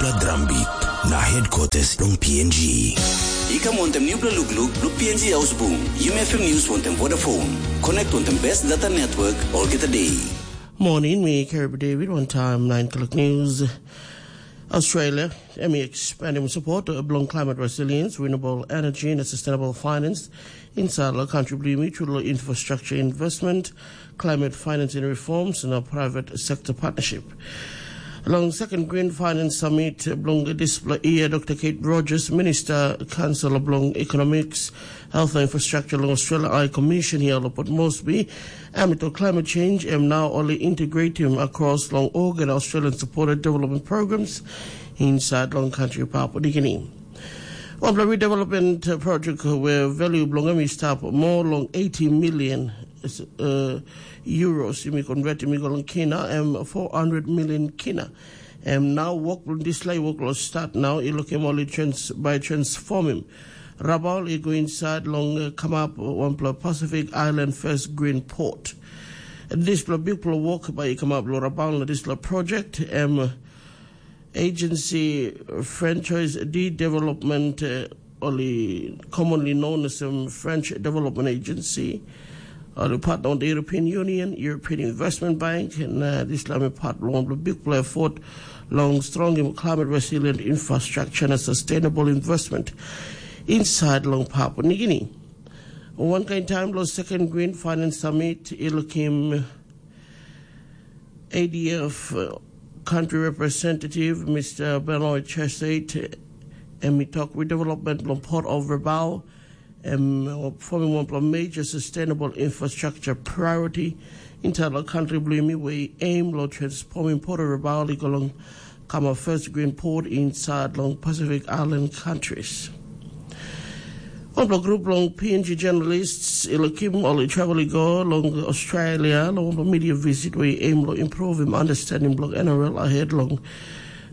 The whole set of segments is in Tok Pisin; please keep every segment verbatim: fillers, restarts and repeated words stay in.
Pla drambit na headquarters long P N G. I kam wantem nupela lukluk long P N G Ausbung, Yumi F M News wantem Vodafone. Connect wantem best data network olgeta day. Morning, mi Carib David, one time nine o'clock news. Australia, em i expanding support bilong climate resilience, renewable energy and sustainable finance inside the country, bring me to the infrastructure investment, climate financing reforms and a private sector partnership. Long second Green Finance Summit bilong dispela year, Doctor Kate Rogers, Minister Council bilong Economics, Health and Infrastructure long Australia High Commission here, Lopot Mosby, amid climate change, and now only integrate him across long organ Australian supported development programs inside long country Papua New Guinea. Wanpela redevelopment project where value bilong em i stap more long eighty million uh, euros, yumi convert yumi go long kina, em four hundred million kina. Em now work this lay work will start now. I look him only trans by transform him. Rabaul i go inside long uh, come up one plus Pacific Island first green port. This big work by come up lo Rabaul this project. Em Agency Franchise Development, uh, only commonly known as um, French Development Agency, uh, the partner on the European Union, European Investment Bank, and uh, this is part long the big play effort long strong climate resilient infrastructure and sustainable investment inside long Papua New Guinea. One kind time, lo second Green Finance Summit, Ilukim A D F uh, country representative, Mister Benoit Chesate, em i tok redevelopment bilong Port of Rabaul, em uh, forming one of major sustainable infrastructure priority inside the country bilong mi, where aim lo transforming Port of Rabaul i go long kama first green port inside long Pacific Island countries. Wanpela grup long P N G journalists i lukim ol i travel i go long Australia long wanpela media visit where i aim long improvim understanding bilong N R L ahead long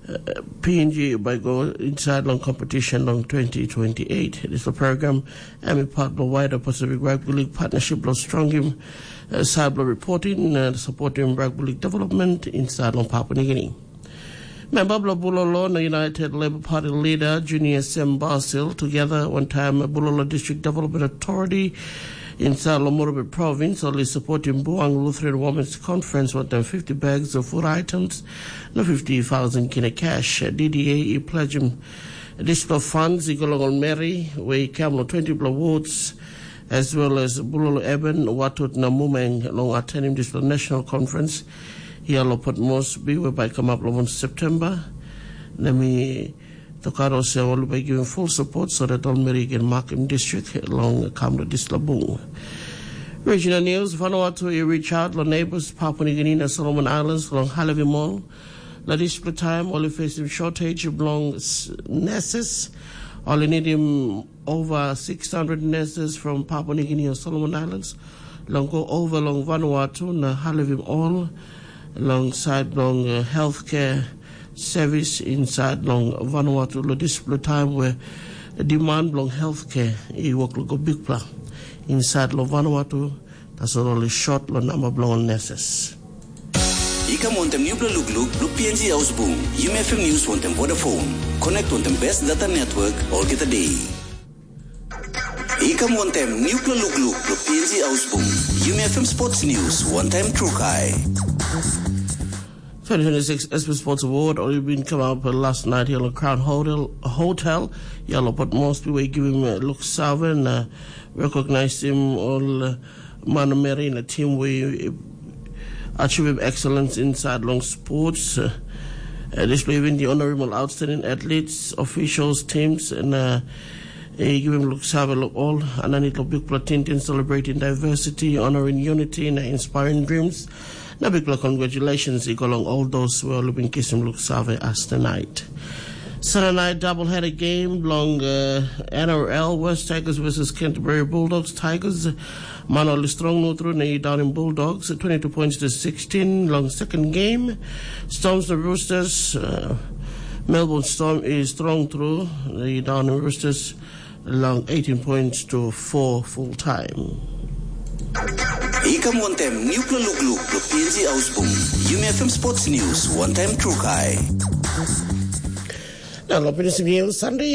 uh, P N G by go inside long competition long twenty twenty-eight. This is the program and a part of the wider Pacific Rugby League partnership long strongim uh, cyber reporting and supporting rugby league development inside long Papua New Guinea. Memba bilong Bulolo na United Labour Party leader Junior Sem Basil together one time Bulolo District Development Authority inside Lomorobe Province only supporting Buang Lutheran Women's Conference with them fifty bags of food items na fifty thousand kina cash. D D A i pledge him dispela funds i go long ol meri we i kam long twenty bla wards as well as Bulolo Eben, Watut na Mumeng long attending dispela national conference. Ia lo Port Moresby we bai kamap long month September. Na mi tokaro se ol bai giving full support so that ol meri can mark in district long kam to dispela bung. Regional news, Vanuatu i reach out lo neighbors Papua New Guinea na Solomon Islands long Halevi Mall. Na dispela time ol i facing shortage bilong nurses. Ol i nidim over six hundred nurses from Papua New Guinea o Solomon Islands long go over long Vanuatu na halivim ol long side bilong uh, healthcare service inside long Vanuatu lo dispela time where demand bilong healthcare i work lo go bigpela inside long Vanuatu. Tasol ol i short lo namba bilong ol nurses. I kam wantem nupela lukluk lo P N G Ausbung, Yumi F M News wantem Vodafone. Connect wantem best data network olgeta day. I kam wantem nupela lukluk lo P N G Ausbung, Yumi F M Sports News wantem Trukai. twenty twenty-six S P Sports Award, or you've been come up last night here at Crown Hotel, Hotel. Yellow, but mostly we give him a look seven, uh, recognize him all. Uh, Manameri na team we achieving excellence inside long sports. Uh, uh, display even the honorable outstanding athletes, officials, teams, and uh, uh, give him look save look all. And I need a big platinum celebrating diversity, honoring unity, and inspiring dreams. Na big congratulations i go long all those who are living kisim look save as tonight. Saturday night doubleheader game long uh, N R L, West Tigers versus Canterbury Bulldogs. Tigers man oli strong no through na down in Bulldogs, twenty-two points to sixteen long second game. Storms the Roosters, uh, Melbourne Storm is strong through na down in Roosters long eighteen points to four full time. I kam wantem nupela lukluk lo P N G Ausbung, Yumi F M Sports News, one time Trukai. Na lo pinisim yel Sande